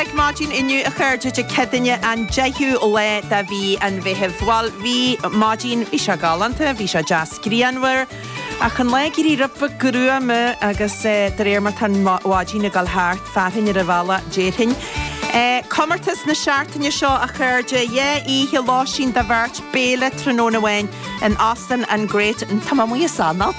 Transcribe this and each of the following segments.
uilig maidin inniu a chairde Dé Céadaoine an 10ú lá de mhí an Mheithimh. Bhuel bhí maidin, bhí sé galánta, bhí sé deas grianmhar ach an lá ag éirí rud beag gruama agus de réir mar tá an mhaidin ag dul thart, fearthainn ar an bhealach déarfainn. Comórtas na seachtaine seo a chairde, 2 oíche lóistín do bheirt, béile tráthnóna amháin in Óstán an Great, tá mé amuigh as anáil!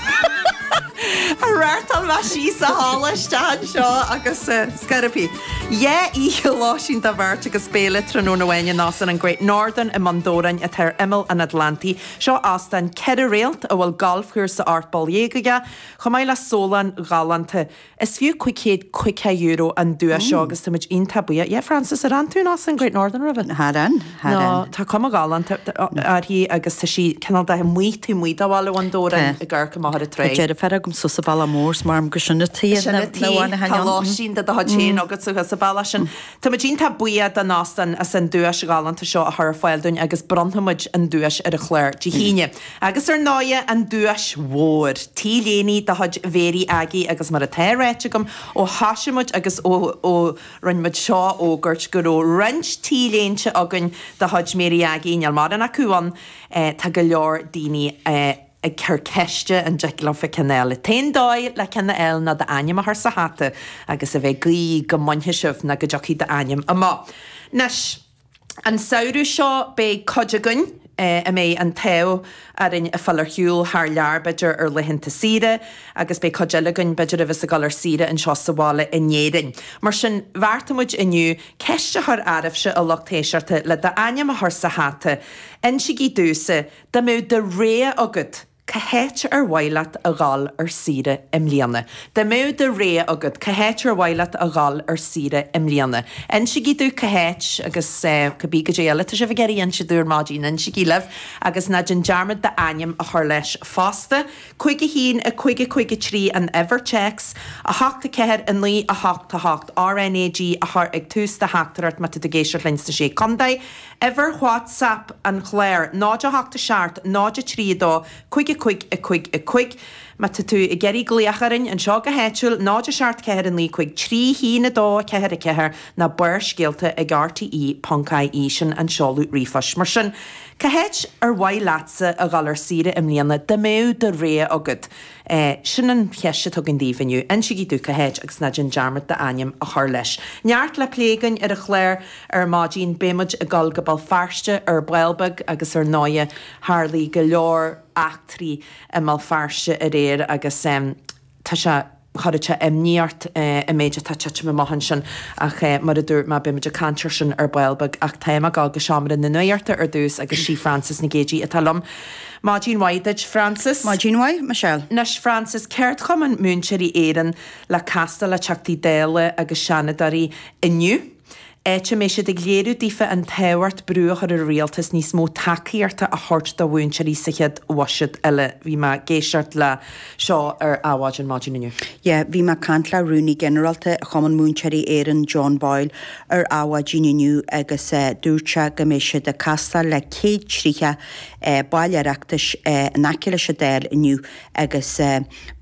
Reáchtáil mé síos an halla isteach anseo agus scairpí. 2 oíche lóistín do bheirt agus béile tráthnóna amháin in Óstán an Great Northern i mBun Dobhráin atá ar imeall an Atlantaigh. Seo óstán 4 réalt a bhfuil galfchúrsa 18 bpoll aige, chomh maith le sólann ghalánta. Is fiú €550 an duais seo agus táimid iontach buíoch. Yeah, Frances, ar fhan tú in Óstán Great Northern roimhe? Char fhan, char fhan. No, tá cuma ghalánta uirthi agus tá sí cineál de amuigh taobh amuigh de bhaile Bhun Dobhráin ag amharc amach ar an trá. Tá deirfiúr agam suas sa Bhealach Mór is maram gur sin an tuighe Sin an tuighe, tá lóistín de do chuid féin agat suas sa bhealach sin. Táimid iontach buíoch don óstán as an duais ghalánta seo a chur ar fáil dúinn agus bronnfaimid an duais ar an chlár Dé hAoine. Agus ar ndóighe, an duais mhór, T-léine de chuid Mhéirí Aggie agus mar atá ráite agam ó thoisigh muid agus ó ó rinne muid seo a fhógairt go raibh roinnt T-léinte againn de chuid Mhéirí Aggie, níl mórán acu ann, tá go leor daoine ag cur ceiste an dtig leofa ceann a fháil. An t-aon dóigh le ceann a fháil ná d'ainm a chur sa hata agus a bheith ag guí go mbainfidh sibh nó go dtiocfaidh d'ainm amach. Anois. An samhradh seo beidh cuid againn a mbeidh an t-ádh orainn a fáil ar shiúl thar lear b'fhéidir ar laethanta saoire agus beidh cuid eile againn b'fhéidir a bheas ag dul ar saoire anseo sa bhaile in Éirinn. Mar sin bheartaigh muid inniu ceist a chur oraibhse a lucht éisteachta le d'ainm a chur sa hata. Insígí domhsa, dá mbeadh do rogha agat, Cá háit ar mhaith leat a dhul ar saoire i mbliana? Dá mbeadh do rogha agat, cá háit ar mhaith leat a dhul ar saoire i mbliana? Insígí domh cá háit agus cibé goidé eile atá sibh ag iarraidh inse domh ar maidin, insígí libh agus ná déan dearmad d'ainm a chur leis fosta. 5 1 5 5 3 an uimhir téacs, 8 4 9 8 8 RNAG a chur ag tús do theachtaireacht má tá tú ag éisteacht linn sna Sé Contae. Uimhir WhatsApp an chláir, 0 8 7 0 3 2 5 5 5 5 Má tá tú ag iarraidh glaoch orainn anseo go háitiúil, 0 7 4 9 5 3 1 2 4 4 nó Barrscéalta ag rte ponc ie, sin an seoladh ríomhphoist. Mar sin, cá háit ar mhaith leatsa a dhul ar saoire i mbliana dá mbeadh do rogha agat? Sin an cheist atá againn daoibh inniu. Insígí domh cá háit agus ná déan dearmad d'ainm a chur leis. Neart le plé againn ar an chlár ar maidin. Beidh muid ag dul go Béal Feirste ar ball beag agus ar ndóighe tharlaigh go leor eachtraí i mBéal Feirste aréir agus tá sé, chuirfeadh sé imní ort an méid atá titim amach ansin ach mar a dúirt mé beidh muid ag caint ar sin ar ball beag ach táim ag dul go seomra na nuachta ar dtús agus sí Frances Nic Géadaigh atá liom. Maidin mhaith duit Frances. Maidin mhaith, Michelle. Anois Frances, Ceardchumann Múinteoirí Éireann le castáil le Teachtaí Dála agus Seanadóirí inniu, áit a mbeidh siad ag léiriú daofa an tábhacht brú a chur ar an rialtas níos mó tacaíochta a thabhairt do mhúinteoirí sa chéad bhuiséad eile. Bhí mé ag éisteacht le seo ar Adhmhaidin maidin inniu. Yeah, bhí mé ag caint le Rúnaí Ginearálta Chumann Múinteoirí Éireann, John Boyle, ar Adhmhaidin inniu agus dúirt sé go mbeidh siad ag castáil le 130 baill Oireachtais in aice leis an Dáil inniu agus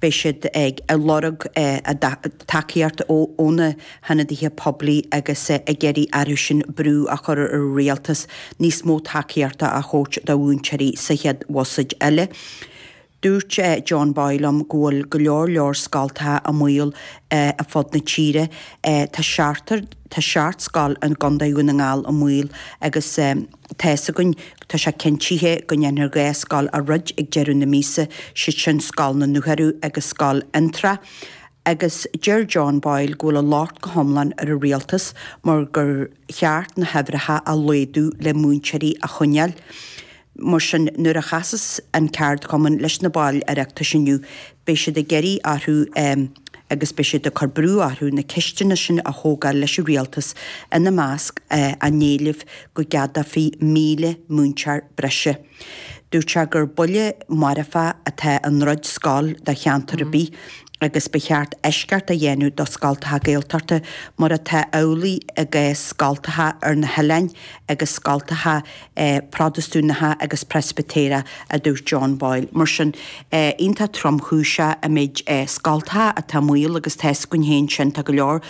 beidh siad ag lorg a dtacaíocht ó na hionadaithe poiblí agus ag iarraidh orthu sin brú a chur ar an rialtas níos mó tacaíochta a thabhairt do mhúinteoirí sa chéad bhuiséad eile. Dúirt John Boyle liom go bhfuil go leor leor scoltacha i mbaol ar fud na tíre. Tá seachtar, tá seacht scoil i gContae Dhún na nGall i mbaol agus tá fhios againn, tá sé cinntithe go ndéanfar 2 scoil a dhruid ag deireadh na míosa, siad sin Scoil na nDúchearú agus Scoil Fhionntrá. Agus deir John Boyle go bhfuil an locht go hiomlán ar an rialtas mar gur cheart na huimhreacha a laghdú le múinteoirí a choinneáil. Mar sin, nuair a chasas an ceardchumann leis na baill Oireachtais inniu, beidh siad ag iarraidh orthu agus beidh siad ag cur brú orthu na ceisteanna sin a thógáil leis an rialtas, ina measc a n-éileamh go gceadófaí 1,000 múinteoir breise. Dúirt sé gur buille marfach atá i ndruid scoil do cheantar ar bith agus ba cheart eisceacht a dhéanamh do scoltacha Gaeltachta mar atá amhlaidh i gcás scoltacha ar na hoileáin agus scoltacha Protastúnacha agus Preispitéireacha, a dúirt John Boyle. Mar sin, iontach tromchúiseach an méid scoltacha atá i mbaol agus tá fhios againn féin sin, tá go leor.